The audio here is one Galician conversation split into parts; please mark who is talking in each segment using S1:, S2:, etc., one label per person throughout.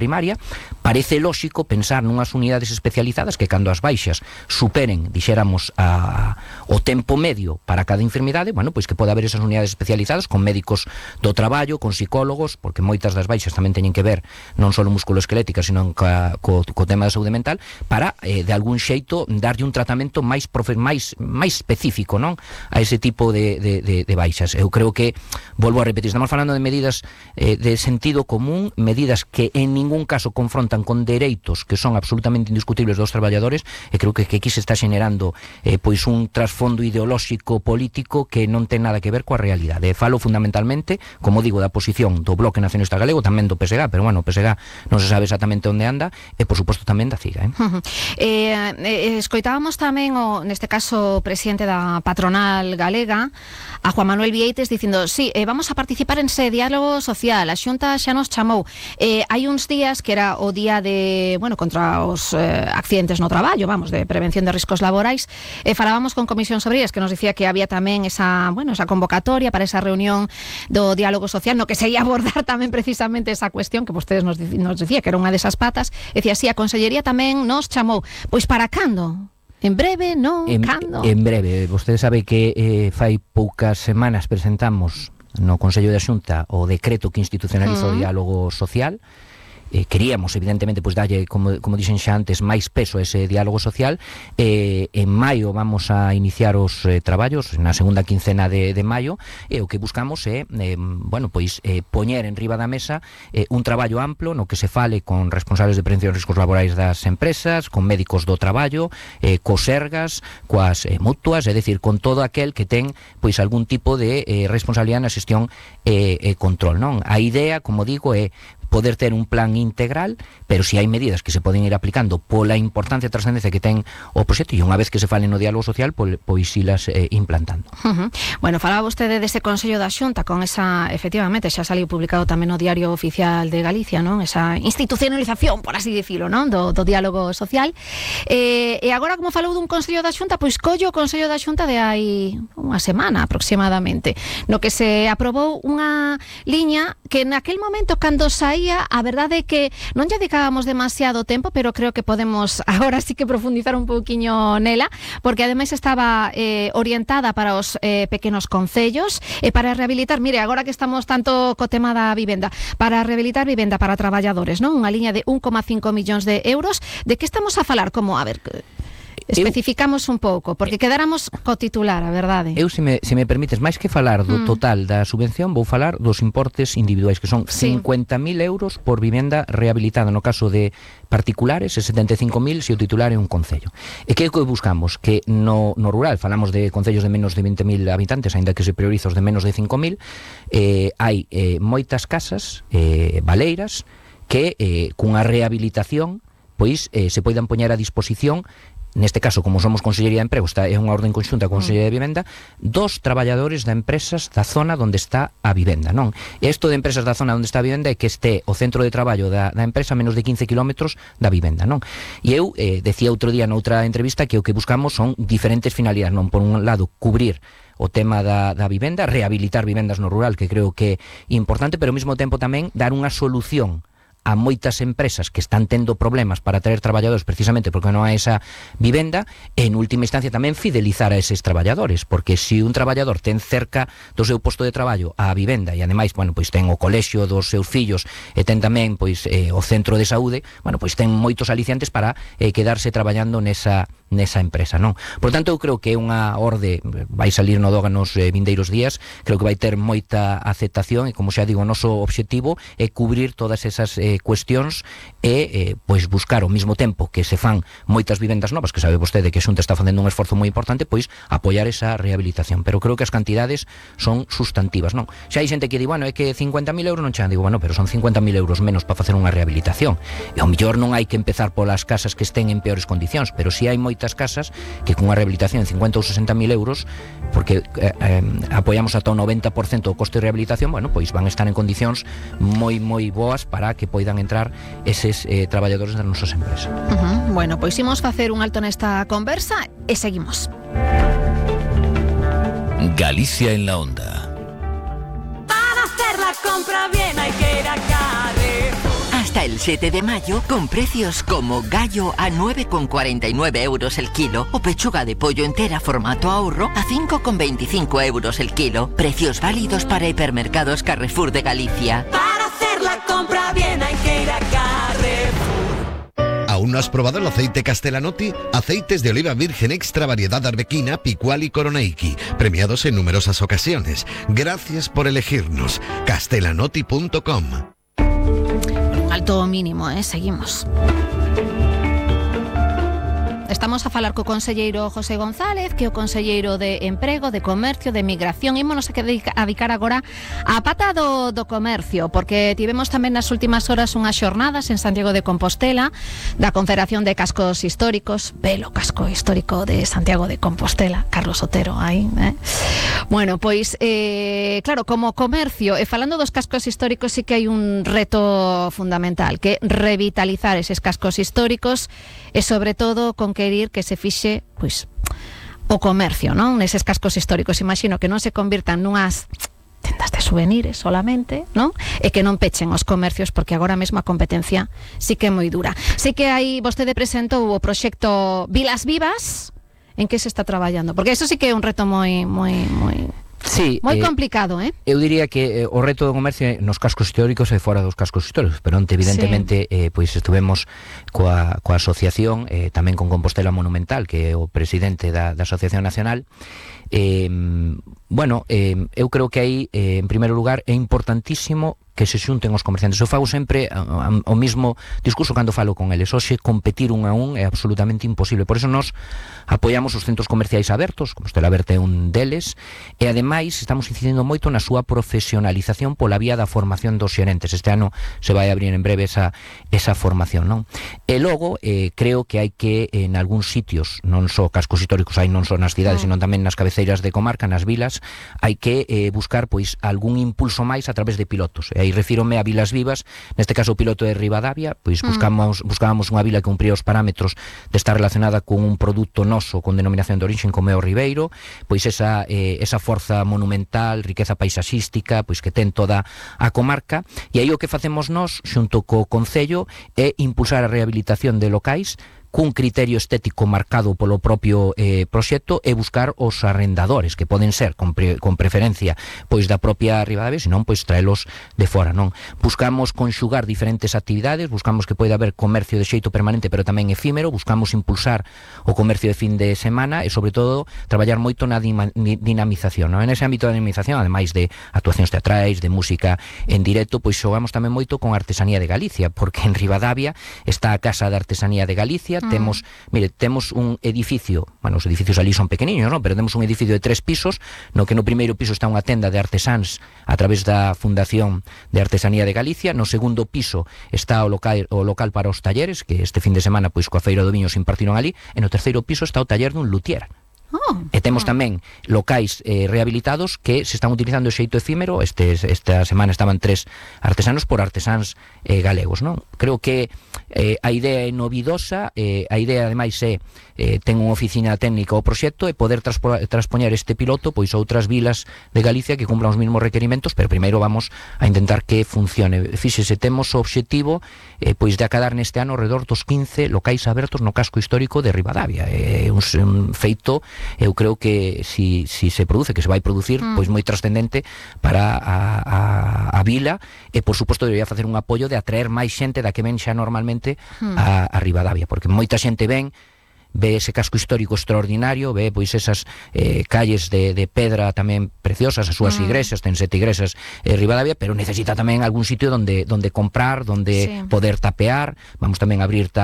S1: primaria, parece lóxico pensar nunhas unidades especializadas que cando as baixas superen, dixéramos, o tempo medio para cada enfermidade, bueno, pois que pode haber esas unidades especializadas con médicos do traballo, con psicólogos, porque moitas das baixas tamén teñen que ver non só musculoesqueléticas, sino co tema da saúde mental, para, de algún xeito, darlle un tratamento máis específico, non, a ese tipo de baixas. Eu creo que, volvo a repetir, estamos falando de medidas de sentido común, medidas que en ningún caso confrontan con dereitos que son absolutamente indiscutibles dos traballadores, e creo que aquí se está xenerando pois un trasfondo ideolóxico político que non ten nada que ver coa realidade. Falo fundamentalmente, como digo, da posición do Bloque Nacionalista Galego, tamén do PSG, pero bueno, o PSG non se sabe exactamente onde anda, e por suposto tamén da CIGA.
S2: Escoitábamos tamén neste caso o presidente da patronal galega, a Juan Manuel Vieites, dicindo, sí, vamos a participar en ese diálogo social, a Xunta xa nos chamou. Hai uns días que era o día de, contra os accidentes no traballo, de prevención de riscos laborais, falábamos con Comisión sobre ellas, que nos dicía que había tamén esa convocatoria para esa reunión do diálogo social, no que se ia abordar tamén precisamente esa cuestión que vostedes nos dicía que era unha desas patas. Decía, sí, a Consellería tamén nos chamou. Pois para cando? En breve, non? Cando?
S1: En breve. Vostede sabe que fai poucas semanas presentamos no Consello da Xunta o decreto que institucionaliza o diálogo social. Queríamos, evidentemente, pois dalle, como dixen xa antes, máis peso a ese diálogo social. En maio vamos a iniciar os traballos, na segunda quincena de maio, e o que buscamos é, poñer en riba da mesa un traballo amplo no que se fale con responsables de prevención de riscos laborais das empresas, con médicos do traballo, cos sergas, coas mutuas, é dicir, con todo aquel que ten pois algún tipo de responsabilidade na xestión e control, non? A idea, como digo, é poder ter un plan integral, pero si hai medidas que se poden ir aplicando pola importancia e trascendencia que ten o proxecto, e unha vez que se fale no diálogo social, pois ilas implantando.
S2: Bueno, falaba vostede dese Consello da Xunta con esa, efectivamente, xa saliu publicado tamén no Diario Oficial de Galicia, non? Esa institucionalización, por así dicilo, non? Do diálogo social. E agora, como falou dun Consello da Xunta, pois collo o Consello da Xunta de hai unha semana aproximadamente, no que se aprobou unha liña que naquel momento, cando saía, a verdade é que non lle dedicábamos demasiado tempo, pero creo que podemos agora sí que profundizar un pouquiño nela, porque ademais estaba orientada para os pequenos concellos e para rehabilitar, mire, agora que estamos tanto co tema da vivenda, para rehabilitar vivenda para traballadores, non? Unha liña de 1,5 millóns de euros. De que estamos a falar? Como, a ver, especificamos un pouco, porque quedáramos co titular, a verdade.
S1: Eu, se me permites, máis que falar do total da subvención, vou falar dos importes individuais, que son 50.000 euros por vivenda rehabilitada no caso de particulares e 75.000 se o titular é un concello. E que é o que buscamos? Que no rural, falamos de concellos de menos de 20.000 habitantes, aínda que se prioriza os de menos de 5.000, hai moitas casas baleiras que cunha rehabilitación pois se poidan poñer a disposición, neste caso, como somos Consellería de Emprego, é unha orden conxunta con Consellería de Vivenda, dos traballadores da empresas da zona onde está a vivenda, non? E isto de empresas da zona onde está a vivenda é que este o centro de traballo da empresa a menos de 15 kilómetros da vivenda, non? E eu decía outro día noutra entrevista que o que buscamos son diferentes finalidades, non? Por un lado, cubrir o tema da vivenda, rehabilitar vivendas no rural, que creo que é importante, pero ao mesmo tempo tamén dar unha solución a moitas empresas que están tendo problemas para traer traballadores precisamente porque non hai esa vivenda, e en última instancia tamén fidelizar a eses traballadores, porque se un traballador ten cerca do seu posto de traballo a vivenda e ademais, pois ten o colexio dos seus fillos e ten tamén pois o centro de saúde, pois ten moitos aliciantes para quedarse traballando nesa empresa, non? Por tanto, eu creo que é unha orde, vai salir no DOGA nos vindeiros días, creo que vai ter moita aceptación e, como xa digo, o noso obxectivo é cubrir todas esas cuestións e pois buscar ao mesmo tempo que se fan moitas vivendas novas, que sabe vostede que a Xunta está facendo un esforzo moi importante, pois apoiar esa rehabilitación, pero creo que as cantidades son sustantivas, non? Xa hai xente que di, é que 50.000 euros non chegan, digo, pero son 50.000 euros menos para facer unha rehabilitación, e ao mellor non hai que empezar polas casas que estén en peores condicións, pero si hai moitas casas que con unha rehabilitación de 50 ou 60.000 euros, porque apoiamos ata o 90% do coste de rehabilitación, pois van estar en condicións moi boas para que poidan entrar eses traballadores das nosas empresas.
S2: Bueno, pois imos facer un alto nesta conversa e seguimos.
S3: Galicia en la onda.
S4: Para hacer la compra bien hay que ir a Carrefour.
S3: Hasta el 7 de mayo, con precios como gallo a 9,49 euros el kilo o pechuga de pollo entera formato ahorro a 5,25 euros el kilo. Precios válidos para hipermercados Carrefour de Galicia.
S4: Para hacer la compra bien hay que ir a Carrefour.
S5: ¿Aún no has probado el aceite Castellanotti? Aceites de oliva virgen extra variedad arbequina, picual y coroneiki, premiados en numerosas ocasiones. Gracias por elegirnos. Castellanotti.com.
S2: Alto mínimo, seguimos. Estamos a falar co conselleiro José González, que é o conselleiro de Emprego, de Comercio, de Migración. Ímonos a dedicar agora a pata do comercio, porque tivemos tamén nas últimas horas unhas xornadas en Santiago de Compostela da Confederación de Cascos Históricos, belo casco histórico de Santiago de Compostela, Carlos Otero, aí, Bueno, pois, claro, como comercio, e falando dos cascos históricos, sí que hai un reto fundamental, que é revitalizar eses cascos históricos e, sobre todo, conquerir que se fixe, pois, o comercio, non? Neses cascos históricos. Imagino que non se convirtan nunhas tendas de souvenirs solamente, non? E que non pechen os comercios, porque agora mesmo a competencia sí que é moi dura. Sí que aí vostede presentou o proxecto Vilas Vivas. En que se está traballando? Porque eso sí que é un reto moi
S1: Sí,
S2: moi complicado,
S1: Eu diría que o reto do comercio nos cascos históricos e fora dos cascos históricos, pero onte evidentemente pois estuvemos coa asociación, tamén con Compostela Monumental, que é o presidente da Asociación Nacional. Bueno, eu creo que aí, en primeiro lugar, é importantísimo que se xunten os comerciantes. Eu fago sempre o mismo discurso cando falo con eles. Hoxe competir un a un é absolutamente imposible. Por eso nós apoiamos os centros comerciais abertos, Compostela Aberta é un deles, e ademais estamos incidindo moito na súa profesionalización pola vía da formación dos xerentes. Este ano se vai abrir en breve esa formación, non? E logo, creo que hai que, en algúns sitios, non só cascos históricos, hai non só nas cidades, sino tamén nas cabeceiras de comarca, nas vilas, hai que buscar pois algún impulso máis a través de pilotos. E aí refírome a Vilas Vivas, neste caso o piloto de Ribadavia, pois buscábamos unha vila que cumpría os parámetros de estar relacionada con un produto noso con denominación de origen como é o Ribeiro, pois esa forza monumental, riqueza paisaxística, pois que ten toda a comarca, e aí o que facemos nós xunto co Concello é impulsar a rehabilitación de locais cun criterio estético marcado polo propio proxecto e buscar os arrendadores, que poden ser con preferencia pois da propia Ribadavia, senón pois traelos de fora, non? Buscamos conxugar diferentes actividades, buscamos que poida haber comercio de xeito permanente pero tamén efímero, buscamos impulsar o comercio de fin de semana e sobre todo traballar moito na dinamización, non? En ese ámbito da dinamización, ademais de actuacións teatrais, de música en directo, pois xogamos tamén moito con artesanía de Galicia, porque en Ribadavia está a Casa de Artesanía de Galicia. Temos un edificio, bueno, os edificios ali son pequeniños, non? Pero temos un edificio de 3 pisos, no que no primeiro piso está unha tenda de artesáns a través da Fundación de Artesanía de Galicia, no segundo piso está o local para os talleres, que este fin de semana pois coa Feira do Viño se impartiron ali, e no terceiro piso está o taller dun luthier. E temos tamén locais rehabilitados que se están utilizando de xeito efímero. Esta semana estaban 3 artesanos por artesáns galegos, non? Creo que a idea é novidosa, a idea ademais é ten unha oficina técnica ao proxecto e poder transpoñer este piloto pois a outras vilas de Galicia que cumplan os mesmos requerimentos, pero primeiro vamos a intentar que funcione. Fíxese, temos o obxectivo pois de acadar neste ano alrededor dos 15 locais abertos no casco histórico de Ribadavia. É un feito, eu creo que si se produce, que se vai producir, pois moi trascendente para a vila, e por suposto debería facer un apoio de atraer máis xente da que ven xa normalmente a Ribadavia, porque moita xente ve ese casco histórico extraordinario, ve pois esas calles de pedra tamén preciosas, as súas igrexas, ten 7 igrexas Ribadavia, pero necesita tamén algún sitio donde comprar, donde poder tapear. Vamos tamén a abrir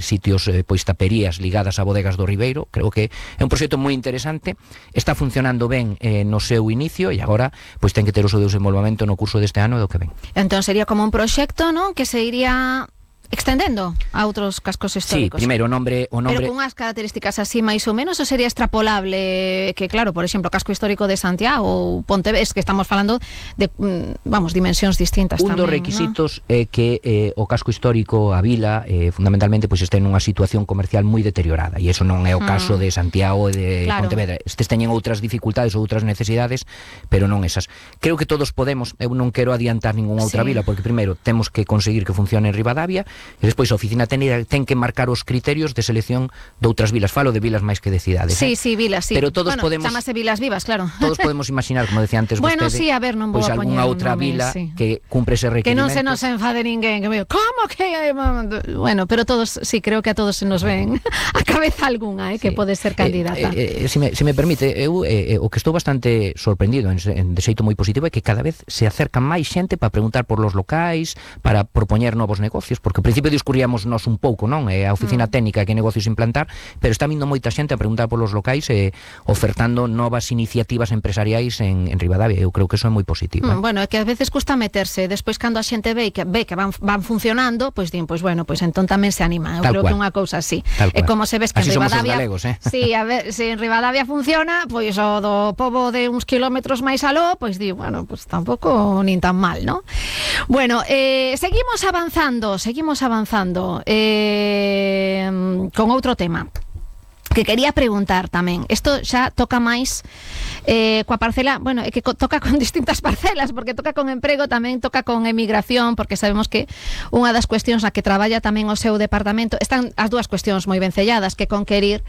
S1: sitios, pois taperías ligadas a bodegas do Ribeiro. Creo que é un proxecto moi interesante, está funcionando ben no seu inicio, e agora pois ten que ter o seu desenvolvemento no curso deste ano e do que ven.
S2: Entón sería como un proxecto, non? Que se iría extendendo a outros cascos históricos.
S1: Sí, primeiro o nombre...
S2: Pero con unhas características así máis ou menos, ou sería extrapolable que, claro, por exemplo, o casco histórico de Santiago ou Pontevedra, es que estamos falando de, vamos, dimensións distintas tamén,
S1: dos requisitos é que o casco histórico, a vila, fundamentalmente, pois este nunha situación comercial moi deteriorada, e iso non é o caso de Santiago e de Pontevedra. Estes teñen outras dificultades ou outras necesidades, pero non esas. Creo que todos podemos, eu non quero adiantar ninguna outra vila, porque primeiro temos que conseguir que funcione en Ribadavia, e despois a oficina técnica ten que marcar os criterios de selección de outras vilas. Falo de vilas máis que de cidades.
S2: Sí, vilas, sí.
S1: Pero todos podemos...
S2: Chamase Vilas Vivas, claro.
S1: Todos podemos imaginar, como decía antes vostede,
S2: bueno, sí, a ver, non vou a poñer
S1: algunha outra vila que cumpre ese requerimento.
S2: Que non se nos enfade ninguén, que me digo, como que... Bueno, pero todos, sí, creo que a todos se nos ven a cabeza algunha, que pode ser candidata.
S1: Se me permite, eu o que estou bastante sorprendido de xeito moi positivo é que cada vez se acerca máis xente para preguntar por los locais, para propoñer novos negocios, porque ao principio discurríamos nos un pouco, non? A oficina técnica que negocios implantar, pero está vindo moita xente a preguntar por los locais e ofertando novas iniciativas empresariais en Ribadavia. Eu creo que eso é moi positivo.
S2: Bueno, é que a veces custa meterse, despois cando a xente ve que van funcionando, pois din, pois bueno, pois entón tamén se anima. Eu creo que unha cousa así. É como se ves que en Ribadavia,
S1: galegos,
S2: sí, a ver, se en Ribadavia funciona, pois o do pobo de uns kilómetros máis aló, pois di, bueno, pois tampouco nin tan mal, ¿no? Bueno, seguimos avanzando con outro tema que quería preguntar tamén. Isto xa toca máis coa parcela, bueno, é que toca con distintas parcelas, porque toca con emprego, tamén toca con emigración, porque sabemos que unha das cuestións na que traballa tamén o seu departamento, están as dúas cuestións moi vencelladas, que conquerir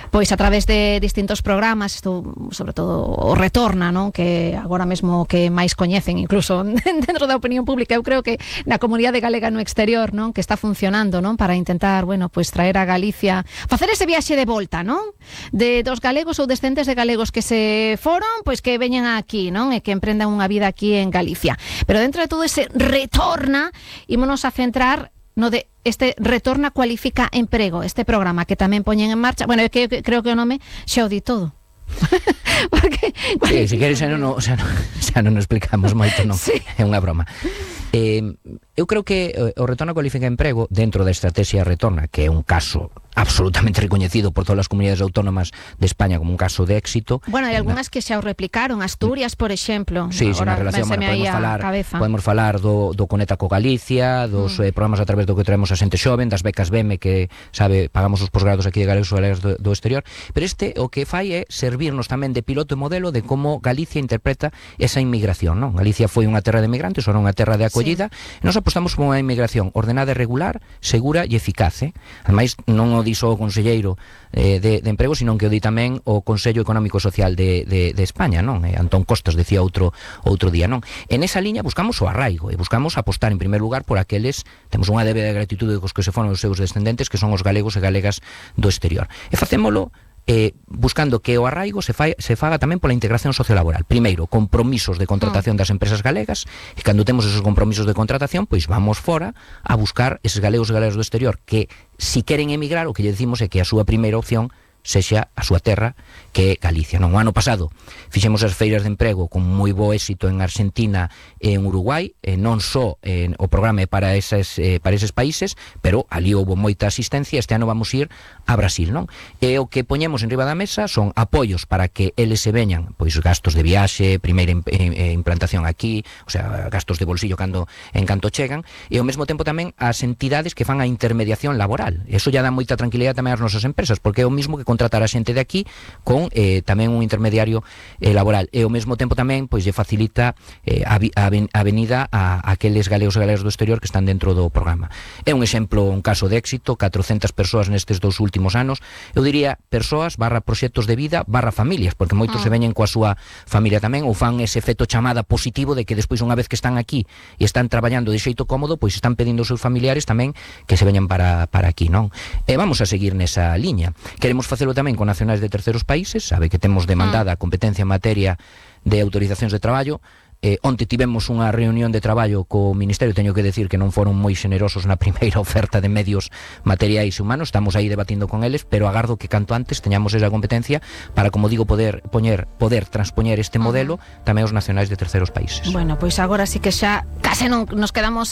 S2: pois a través de distintos programas, isto sobre todo o Retorna, non? Que agora mesmo que máis coñecen incluso dentro da opinión pública, eu creo que na comunidade galega no exterior, non? Que está funcionando, non? Para intentar, bueno, pois traer a Galicia, facer ese viaxe de volta, non? De dos galegos ou descendentes de galegos que se foron, pois que veñan aquí, non? E que emprendan unha vida aquí en Galicia. Pero dentro de todo ese Retorna, ímonos a centrar no de este Retorna Cualifica Emprego, este programa que tamén poñen en marcha. Bueno, que creo que o nome xa o di todo. Porque,
S1: sí, se queres xa non explicamos moito, non?
S2: Sí.
S1: É unha broma. Eu creo que o Retorna Cualifica Emprego, dentro da estrategia Retorna, que é un caso absolutamente recoñecido por todas as comunidades autónomas de España como un caso de éxito.
S2: Bueno, hai algunhas que xa o replicaron, Asturias, por exemplo.
S1: Sí, na relación, podemos falar do Conecta co Galicia, dos programas a través do que traemos a xente xoven, das becas BEME que, sabe, pagamos os posgrados aquí de galegos ou galegas do exterior, pero este o que fai é servirnos tamén de piloto e modelo de como Galicia interpreta esa inmigración, non? Galicia foi unha terra de migrantes, ou unha terra de acollida, e nos apostamos por unha inmigración ordenada e regular, segura e eficaz. Ademais, non o di só o conselleiro de emprego, sino que o di tamén o Consello Económico Social de España, non? Antón Costas decía outro día, non? En esa liña buscamos o arraigo e buscamos apostar en primer lugar por aqueles, temos unha débeda de gratitude cos que se foron os seus descendentes, que son os galegos e galegas do exterior. E facémolo buscando que o arraigo se faga tamén pola integración sociolaboral. Primeiro, compromisos de contratación das empresas galegas, e cando temos esos compromisos de contratación, pois vamos fora a buscar eses galegos e galegas do exterior que, si queren emigrar, o que lle decimos é que a súa primeira opción sexa a súa terra, que é Galicia. Non, o ano pasado fixemos as feiras de emprego con moi bo éxito en Argentina e en Uruguai, non só o programa é para eses países, pero ali houve moita asistencia. Este ano vamos ir a Brasil, non? E o que poñemos en riba da mesa son apoios para que eles se veñan, pois gastos de viaxe, primeira implantación aquí, o sea, gastos de bolsillo en canto chegan, e ao mesmo tempo tamén as entidades que fan a intermediación laboral. Eso ya dá moita tranquilidade tamén ás nosas empresas, porque é o mismo que contratar a xente de aquí con tamén un intermediario laboral, e ao mesmo tempo tamén pois lle facilita a venida a aqueles galegos e galegas do exterior que están dentro do programa. É un exemplo, un caso de éxito, 400 persoas nestes 2 últimos anos. Eu diría persoas / proxectos de vida / familias, porque moitos se veñen coa súa familia tamén, ou fan ese efecto chamada positivo de que despois, unha vez que están aquí e están traballando de xeito cómodo, pois están pedindo aos seus familiares tamén que se veñan para aquí, non? E vamos a seguir nesa liña. Queremos facelo tamén con nacionais de terceros países, sabe que temos demandada a competencia en materia de autorizacións de traballo. Onte tivemos unha reunión de traballo co Ministerio, teño que decir que non foron moi xenerosos na primeira oferta de medios materiais e humanos, estamos aí debatindo con eles, pero agardo que canto antes teñamos esa competencia para, como digo, poder transpoñer este modelo tamén aos nacionais de terceros países.
S2: Bueno, pois agora sí que xa case non nos quedamos